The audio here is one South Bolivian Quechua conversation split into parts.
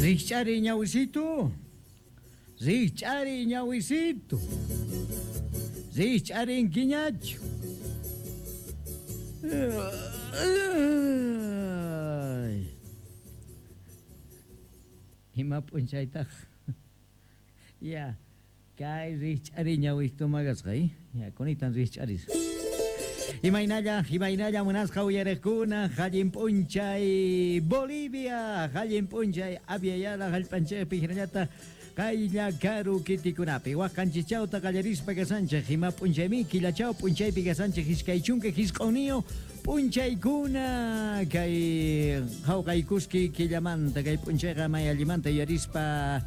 Rijch'ariy ñawisitu. Rijch'ariy ñawisitu. Rijch'arinkiñachu. Ay. Ima p'unchaytaj. Ya, kay rijch'ariy ñawituman kasqa, Ya, kunitan rijch'aris. Imaynalla, imaynalla munasqa uyariqkuna, allin p'unchay Bolivia, allin p'unchay Abya Yala hallp'anchikpi hinallataq qaylla karu kitikunapi. Wak qanchischawta qallarispa kasanchik, ima p'unchaymi killachaw p'unchaypi kasanchik 29 p'unchaykuna kay hawqaykuski killamanta, kay p'unchayqa may allimanta yuyarispa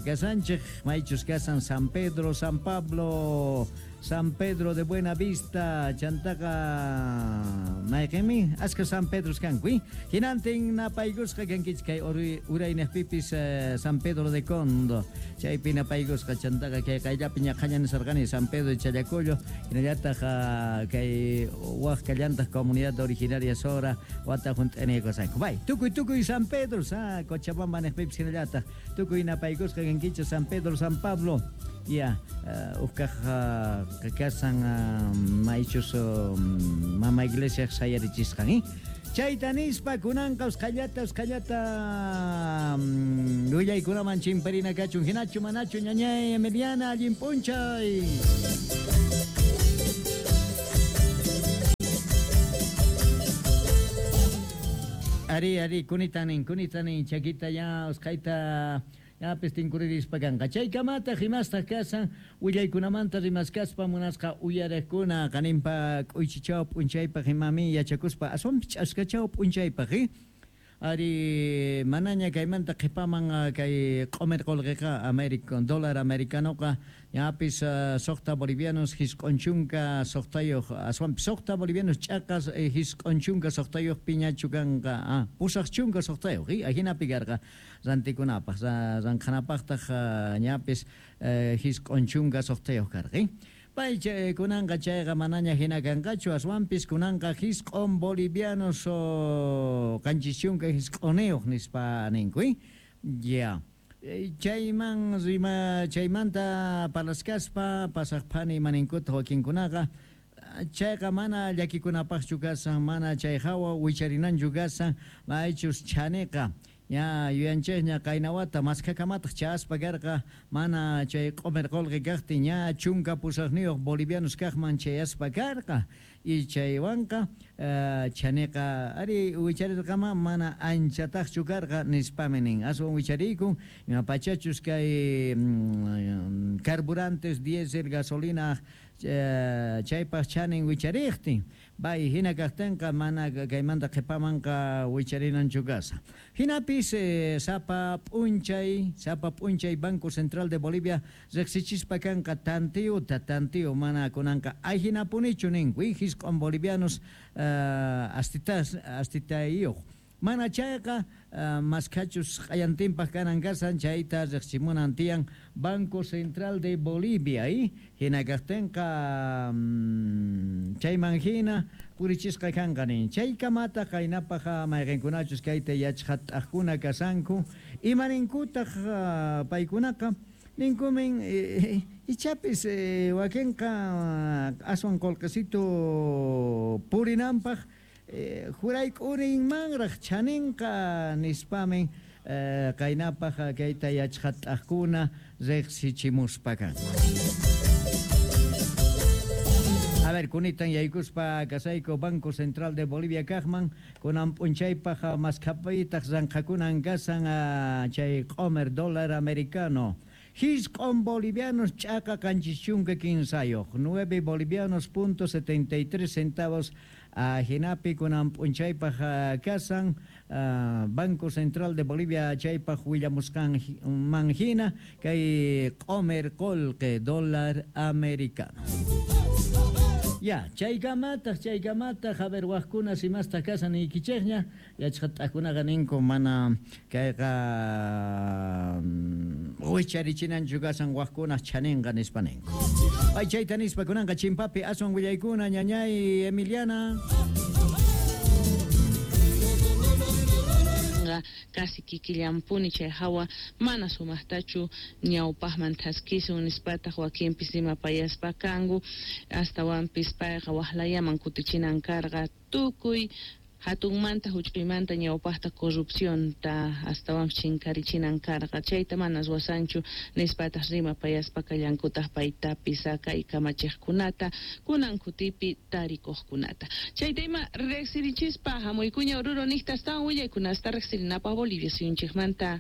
kasanchik, maychus kasan San Pedro, San Pablo, San Pedro de Buena Vista, chantaqa mayqinmi askha San Pedros kanku, hinantin napaykusqa kankichik kay uraynejpipis San Pedro de Condo, chaypi napaykusqa, chantaqa kay qayllapi ñaqhaña nisarqani San Pedro de Challacollo, hinallataq kay waj kallantaq comunidad originaria Sora wata junt'aniykusqanku. Bay, tukuy tukuy San Pedros, Cochabamba nejpipis hinallataq tukuy napaykusqa kankichik San Pedro, San Pablo. Ya, uj kaj kasan maychus mama iglesiaj sayarichisqan, Chayta nispa kunanqa usqhallata usqhallata willaykunaman chimparina kachun, hinachu manachu ñañay Emiliana, allin p'unchay. Ari, ari, kunitan nin, kunitan nin, chakita ya usqhayta ñapis tinkuririspa kanqa. Chaykamataq imastaq kasan willaykunamanta rimaskaspa munasqa uyariqkuna qaninpa k'uychichaw p'unchaypaq imami yachakuspa aswanpis ch'askachaw p'unchaypaq, Ari, manaña kaymanta qhipaman kay q'umir qulqiqa América, dólar americanoqa ñapis 6 bolivianos 96, aswanpis 6 bolivianos ch'aqas 96 piñachu kanqa, 86, ajinapi karqa rantikunapaq, ranqhanapaqtaq ñapis 96 karqa. Pay kunanqa chayqa manaña hina kanqachu, aswanpis kunanqa 9 bolivianos 79 nispa ninku. Ya. Chayman rima chaymanta parlaskaspa pasaq phani imaninkuta wakinkunaqa chayqa mana llakikunapaqchu kasan, mana chay hawa wicharinanchu kasan, maychus chhaniqa ña yuyanchikña qaynawata maskhakamataq chayaspa karqa, mana chay q'umir qulqi kaqtin ña 18 bolivianos kaqman chayaspa karqa, y chaywanqa chhaniqa ari wicharirqama mana anchataqchu karqa nispami nin, aswan wichariykun ima pachachus kay carburantes, diésel, gasolina chaypaq chhanin wichariqtin, bay hina kaqtinqa mana kaymanta qhipamanqa wicharinanchu kasa. Hinapis sapa p'unchay, sapa p'unchay Banco Central de Bolivia riqsichispa kanqa tanteota, tanteo mana kunanqa ajinapunichu ninku, 9 bolivianos astitayuq. Mana chayqa maskhachus q'ayantinpaq kanan kasan chayta riqsimunan tiyan Banco Central de Bolivia, hina kaqtinqa chayman hina purichisqa kanqa nin. Chaykamataq qaynapaq mayqinkunachus kayta yachqat'aqkuna kasanku, imaninkutaq paykunaqa ninkumin ichapis wakinqa aswan qulqisitu purinanpaq jurayk'urinmanraq chhaninqa nispamin qaynapaq kayta yachqat'aqkuna riqsichimuspa kanku. A ver, kunitan yaykuspa kasayku Banco Central de Bolivia kaqman, kunan p'unchaypaq maskhapitaq ranqhakunan kasan chay q'umir dólar americano. 9 bolivianos ch'aqa 73, 9 bolivianos punto 73 centavos ajinapi kunan p'unchaypaq kasan Banco Central de Bolivia chaypaq willamusqanman hina kay q'umir qulqi dólar americano. Ya, chaykamataq, chaykamataq, a ver, wajkuna simastaq kasan niykichikña, yachqat'aqkunaqa ninku mana kayqa wicharichinanchu kasan wajkunaq chhaninqa nispa ninku. Pay chayta nispa kunanqa chimpapi aswan willaykuna ñañay Emiliana. Corrupcionqa casi kikillanpuni, chay hawa mana sumaqtachu ñawpaqman thaskisun nispataq wakinpis rimapayaspa kanku. Astawanpis payqa waqlayaman kutichinan karqa tukuy hatunmanta huch'uymanta ñawpaqta corrupcionta astawanpis chinkarichinan karqa, chayta mana ruwasanchu nispataq rimapayaspa kallankutaq paytapis kay kamachiqkunata kunan kutipi tarikuqkunata. Chayta ima riqsirichispa hamuykuña Oruro niqta astawan willaykunasta riqsirinapaq Bolivia suyunchikmanta.